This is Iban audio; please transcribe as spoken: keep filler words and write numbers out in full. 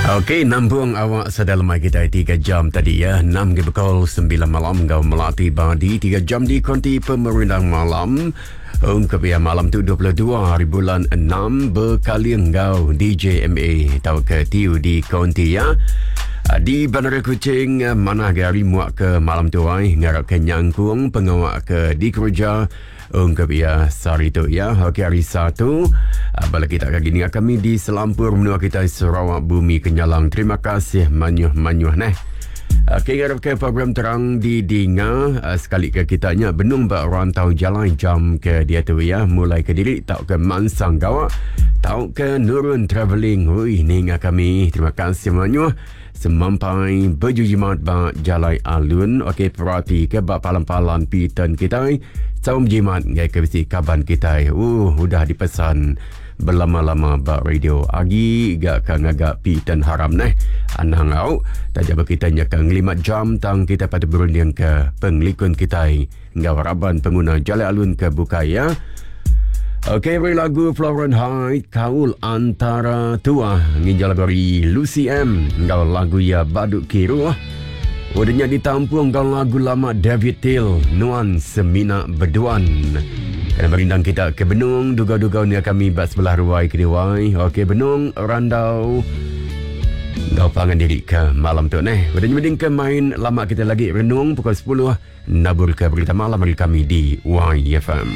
Okey, nampung awak sedalam kita tiga jam tadi ya. enam ke pukul sembilan malam ngau melati badi tiga jam di konti pemerindang malam. Ungkap ya malam tu dua puluh dua hari bulan enam berkali ngau D J M A tau ke T U di konti ya. Di Bandar Kuching mana hari muak ke malam tu ai ngarap ke nyangkung pengawak ke di kerja ungkap ya sehari tu ya. Okey, hari Satu bala kita kali ni kami di selampur menua kita Sarawak Bumi Kenyalang. Terima kasih manyuh-manyuh neh. Okey, ngarap ke program terang di dinga sekali ke kitanya benung ba rantau jalan jam ke dia tu ya, mulai ke diri tau ke mansang gawak tau ke nurun travelling. Hui ninga kami. Terima kasih manyuh. Semampai berjujimat ba jalai alun. Okey, perhati ke ba palan-palan pitan kita. Saum jimat ngai ke bisi kaban kita. Uh, udah dipesan berlama-lama ba radio. Agi gak ka ngagak pitan haram neh. Anang au. Tajam kita nya ka ngelimat jam tang kita patut berunding ke penglikun kita ngau raban pengguna jalai alun ke bukai ya. Okey, beri lagu Florence Hyde, Kaul Antara Tua. Nginjal dari Lucy M. Ngau lagu ya Baduk Kiruh. Udahnya ditampung ngau lagu lama David Till, Nuan Semina Berduan. Kena merindang kita ke Benung, duga-duga ni kami bak sebelah ruai kedewai. Okey, Benung, Randau. Ngau pangan diri ke malam tu neh. Udahnya mending ke main lama kita lagi renung pukul sepuluh. Nabur ke berita malam dari kami di Y F M.